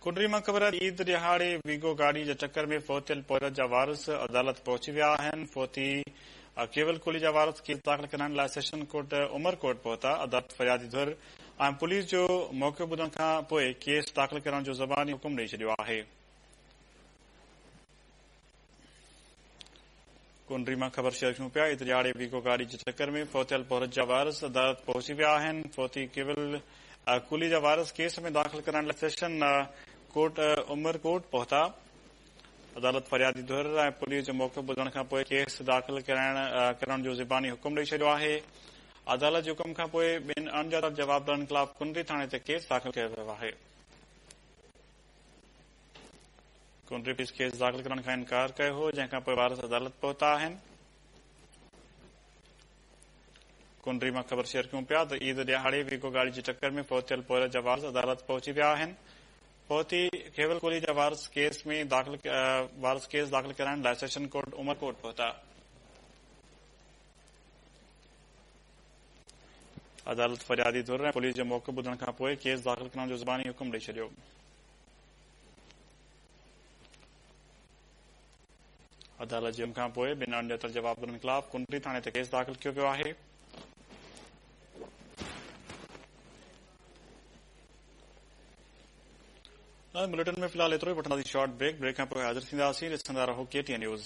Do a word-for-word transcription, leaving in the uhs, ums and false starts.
ڪنري مان خبر آهي عيد ڏهاڙي ويگو گاڏي جي ٽڪر ۾ فوت ٿيل پورهيت جا وارث عدالت پهچي ويا آهن. فوتي ڪيول ڪولي جا وارث ڪيس داخل ڪرائڻ لاء سيشن ڪورٽ عمرڪوٽ پهتا. عدالت فريادي ڌر ۽ پوليس جو موقعو ٻڌڻ کان پوءِ ڪيس داخل ڪرڻ جو زباني حڪم ڏئي ڇڏيو آهي. ڪنري مان خبر شيئر ڪيون پيا. عيد ڏهاڙي ويگو گاڏي جي ٽڪر ۾ فوت ٿيل پورهيت جا وارث عدالت پهچي ويا آهن. فوتي ڪيول ڪولي جا وارث ڪيس ۾ داخل ڪرائڻ لاءِ سيشن ڪورٽ عمرڪوٽ پهتا. عدالت فريادي ڌر ۽ پوليس جو موقعو ٻڌڻ کان پوءِ ڪيس داخل ڪرائڻ ڪرڻ جو زباني حڪم ڏئي ڇڏيو آهي. عدالت جي حڪم کان پوءِ ٻن اڻڄاتل جوابدارن خلاف ڪنري ٿاڻي تي ڪيس داخل ڪيو ويو آهي. ڪنري پوليس ڪيس داخل ڪرڻ کان انڪار ڪيو هو، جنهن کان پوءِ وارث عدالت پهتا آهن. ڪنري مان خبر شيئر ڪيون پيا ته عيد ڏهاڙي ويگو گاڏي جي ٽڪر ۾ فوت ٿيل پورهيت جا وارث عدالت پهچي ويا آهن. فوتي کيول ڪولي جا وارث ڪيس ۾ داخل وارث ڪيس داخل ڪرائڻ لاءِ سيشن ڪورٽ عمرڪوٽ پهتا. عدالت فريادي ڌر ۽ پوليس جو موقعو ٻڌڻ کان پوءِ ڪيس داخل ڪرڻ جو زباني حڪم ڏئي ڇڏيو. عدالت جي حڪم کان پوءِ ٻن اڻڄاتل جوابدارن خلاف ڪنري ٿاڻي تي ڪيس داخل ڪيو ويو آهي. بليٽن ۾ फिलहाल एतिरो ई. वठंदासीं शॉर्ट ब्रेक. ब्रेक खां पोइ हाज़िर थींदासीं. ॾिसंदा रहो के टी एन न्यूज़.